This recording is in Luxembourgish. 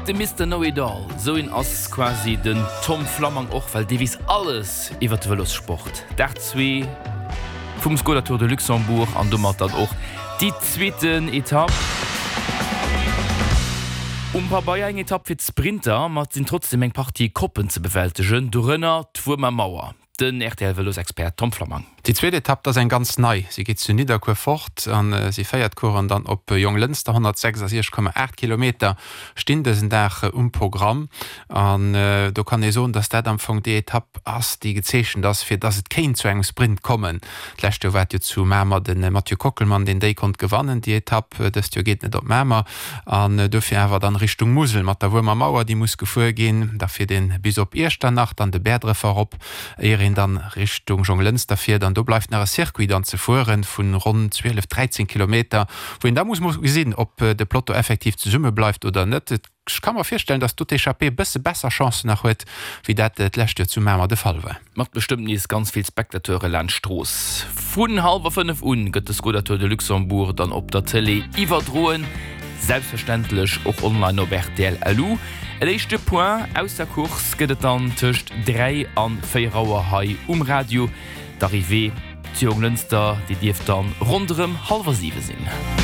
De Mister Know It All, sou een ass quasi den Tom Flammang och, well dee weess alles iwwer de Vëlossport. Dag 2 vum Skoda Tour de Luxembourg an domat dann och déi zweeten Etapp. Um Pabeier eng Etapp fir d'Sprinter, ma et sinn trotzdeem eng Partie Koppen ze bewältegen, dorënner d'Wuermer Mauer. Den RTL-Vëlosexpert Tom Flammang. Déi zweet Etapp, dat ass eng ganz nei. Si geet zu Nidderkuer fort a si féiert d'Coursen dann op Jonglënster. 166,8 Kilometer stinn dësen Dag um Programm an do kann ee soen, dass dat am Fong déi Etapp ass, déi gezeechent ass, fir dass et kéint zu engem Sprint kommen. D'lescht Joer war et jo zu Mamer de Mathieu Kockelmann, deen déi konnt gewannen, déi Etapp. Dëst Joer geet et net op Mamer an dofir awer dann Richtung Musel mat der Wuermer Mauer, déi muss gefuer ginn. Da fiert een bis op Iechternach, dann de Bäerdrefer erop, éier een dann Richtung Jonglënster fiert an do bleift nach e Circuit dann ze fueren vun ronn 12, 13 Kilometer, wou een da muss mol gesinn, ob de Peloton effektiv zesumme bleift oder net. Ech ka mer virstellen, dass do d'Echappée e bësse besser Chancen nach huet, wéi dat d'lescht Joer zu Mamer de Fall war. Mat bestëmmt nees ganz vill Spectateure laanscht d'Strooss. Vun hallwer 5 un gëtt de Skoda Tour de Luxembourg dann op der Tëlee iwwerdroen, selbstverständlech och online op rtl LU. En éischte Point aus der Course gëtt et dann tëscht 3 an 4 Auer hei um Radio. D'Arrivée zu Jonglënster, déi dierft dann ronderëm hallwer 7 sinn.